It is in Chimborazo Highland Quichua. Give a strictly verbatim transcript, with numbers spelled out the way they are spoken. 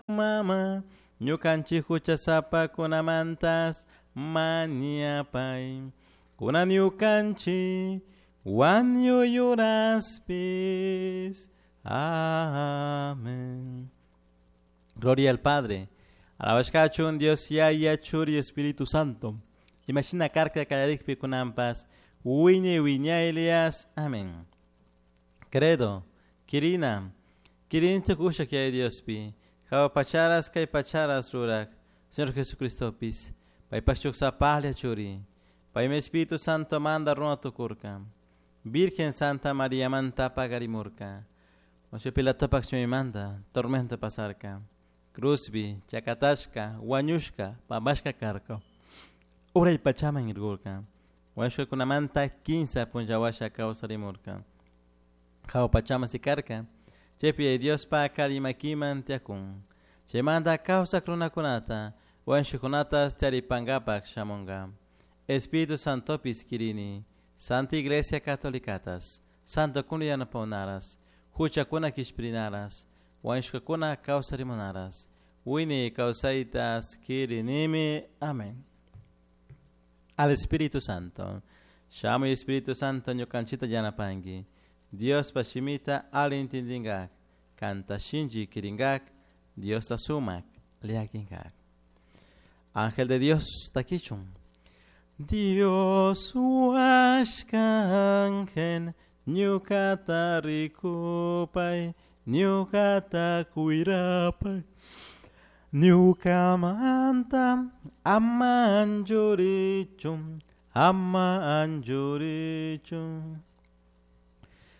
Mama, ñukanchik huchasapakunamantas mañapay. Kunan ñukanchik wañuyuraspis. Amén. Gloria al Padre. Alabashkachun Dios Yaya Churi Espíritu Santo. Imashina karka kallarikpi kunanpas wiñay wiñaylias. Amén. Credo, Kirina, Kirinchik ushak Yaya Diospi, Hawa pacharas kay pacharas rurak, Señor Jesucristopis, paypak shuk sapalla churi, paymi Espíritu Santo manda runa tukurka, Virgen Santa María manta pagarimurka, Poncio Pilatopak manda, tormento pasarka, Cruzbi, chakatashka, wañushka, pampashka karka, uray pachaman irgurka, wañushkakunamanta kinsa punllawasha kawsarimurka, Hawa pachaman sikarka, chaypi Diospa karimakiman tiyakun, chaymanta kawsak runakunata, wañushkakunatas tiyaripankapak shamunka. Espíritu Santopis kirini, Santa Iglesia Catolicatas, Santo kuna yanapawnaras, huchakuna kishpirinaras, wañushkakuna kawsarimunaras, wiñay kawsaytas kirinimi. Amén. Al Espíritu Santo. Shamuy Espíritu Santo ñukanchita yanapanki. Diospa shimita ali intindingak, kanta shinchi kiringak, Diosta sumak llakinkak. Ángel de Dios takichun. Dios huashka ángel, ñukata rikupay, ñukata cuirapay. Ñukamanta ama anchurichun, ama anchurichun.